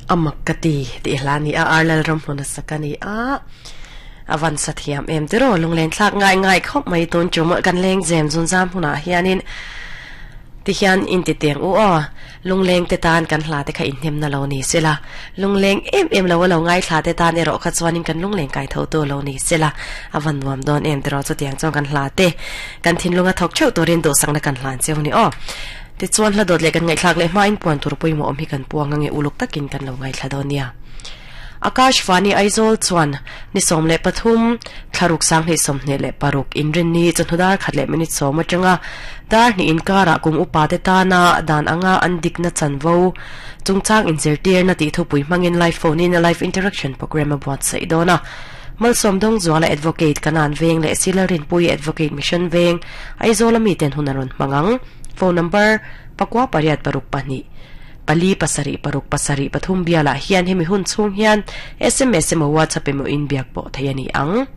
Amak ka ti tih hla ni a Ar Lalramhluna sak a ni a, a van sa thiam em tiraw lunglen thlak ngai ngai khawp mai tun chu mawlh kan leng zem zun zam hunah hianin tihian inti teng u aw lungleng te tan kan hla te kha inhnemna lo ni sela lungleng em em lo a lo ngaithla te tan erawh kha chuanin kan lungleng kai tho tu lo ni sela a van nuam dawn em tiraw chutiang chuan kan hla te kan thinlunga thawk theuh turin duhsakna kan hlan cheu ni aw. Tichuan hla dawt leh kan ngaihthlak leh hmain puan tur pawimawh awm hi kan puang ange uluk takin kan lo ngaithla dawn nia. Akash Vani Aizawl chuan ni 13 thlaruk sanghnih 26 inrinni chawhnu dar khat leh minute sawm atanga dar hnih inkarah kum upa te tana dan anga an dikna chanvo chungchang inzirtirna tih thupui hmangin live phone in a live interaction programme a buatsaih dawn a. Malsawm Dawngzuala Advocate Kanan Veng leh Sila Rinpuii Advocate Mission Veng Aizawl a miten hun a rawn hmang ang. Phone number, pakua pariat paruk pahnih, pali pasarih paruk pasarih pathum bialah hian hemi hun chhung hian sms emaw WhatsApp emaw in biak pawh theih a ni ang.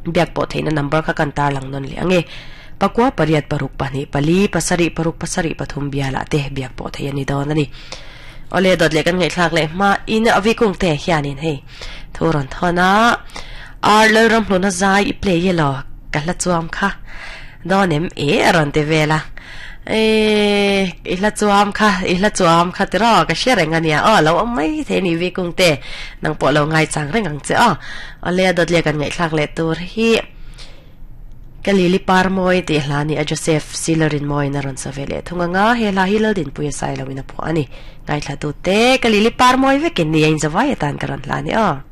Biak pawh theihna number kha kan tarlang nawn leh ang e. Pakua pariat paruk pahnih, pali pasarih paruk pasarih pathum bialah te biak pawh theih a ni dawn a ni. Awle dawt leh kan ngaihthlak leh hma in a vikung te hianin hei thu rawn thawn a, Ar Lalramhluna zai i play elaw ka hla chuam kha. Dawn em e a rawn ti vel a. E i hla chuam kha, i hla chuam kha tiraw ka hre reng a nia aw lo awm mai thei a ni Vikung te nang pawh lo ngaichang reng ang che aw. Awle a dawt leh kan ngaihthlak leh tur hi ka Lily Parmawi tih hla ni a Joseph Silarin mawiin a rawn sa ve leh thung anga he hla hi Laldinpuia Sailoin a phuah a ni. Ngaithla tute ka Lily Parmawi vekin ni a inzawai atan ka rawn hla a ni aw.